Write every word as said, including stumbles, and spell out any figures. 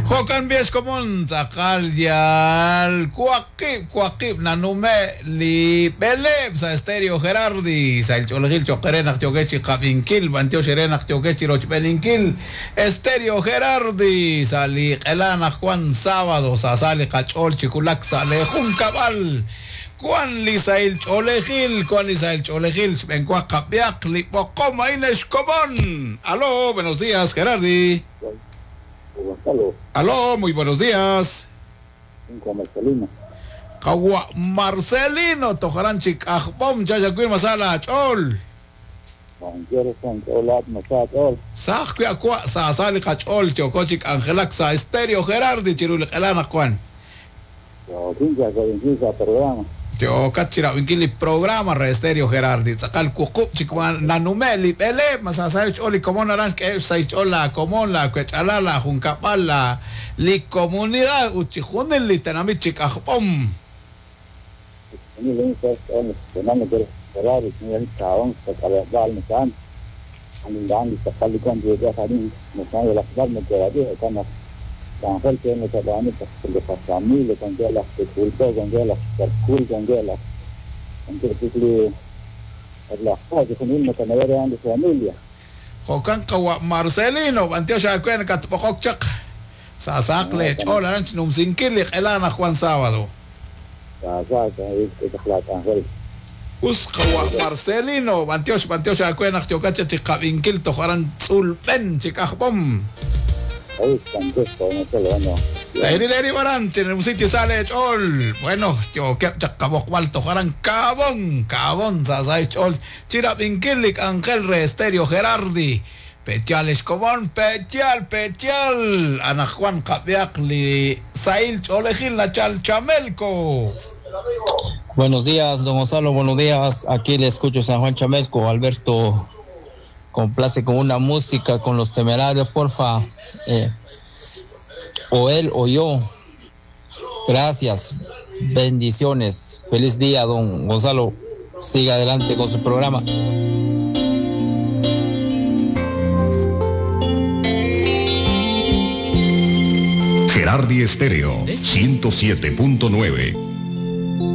Jo'kan b'ex komon tz'aqal yal waqib' waqib' nanume li b'eleeb' sa' Estéreo Gerardi sa' ilch'oolejil cho'q re naq yookex chi qab'inkil b'antiox re naq yookex chi rochb'eninkil Estéreo Gerardi sa' li q'ela naq wan sábado sa' sa li qach'ool chi wulak sa' le junkab'al wan li sahil ch'oolejil wan li sahil ch'oolejil xb'enwa qab'ihaq li b'oqom a'in ex komon. Aló, buenos días, Gerardi. Gonzalo. Aló, muy buenos días. Marcelino. Qawa Marcelino, tojaran chik ajb'om chachakwil masala ch'ol. Saj kwi akwa sa sali qach'ol yoko chik Angelak sa Estéreo Gerardi chiru li q'ela naq wan. Yokat chirab'inkil li programa re Estéreo Gerardi tz'aqal wuqub' chik nanume li b'eleeb' masasay ch'ol li komon aran xk'eeb' say ch'ol la komon la kwech'ala la junkab'al la li comunidad ut chi junil li tenamit chik ajb'om. Ángel que me sabani le familia con que la culpa con que la culpa con que la con que la cosa con él me de familia. Jo'kan qawa Marcelino b'antiox awen katb'oqok chaq sasaq le ch'ol aran xnumsinkil li q'ela naq Juan sábado. Sasaq es Ángel. Us qawa Marcelino b'antiox b'antiox awen naq yokat chi qab'inkil toj aran tz'ulb'en chik ajb'om. Tairi baran, tiene sale chol. Bueno, yo que chacabok tojaran cabón, cabón, sasay chol. Chirabinkilik Ángel re Estéreo Gerardi. Petial escobón, petial, petial. Ana Juan Cabiakli, Sail Cholejil, Nachal Chamelco. Buenos días, don Gonzalo, buenos días. Aquí le escucho San Juan Chamelco, Alberto. Complace con una música, con los Temerarios, porfa. Eh, o él o yo. Gracias, bendiciones. Feliz día, don Gonzalo. Siga adelante con su programa. Gerardi Estéreo ciento siete punto nueve.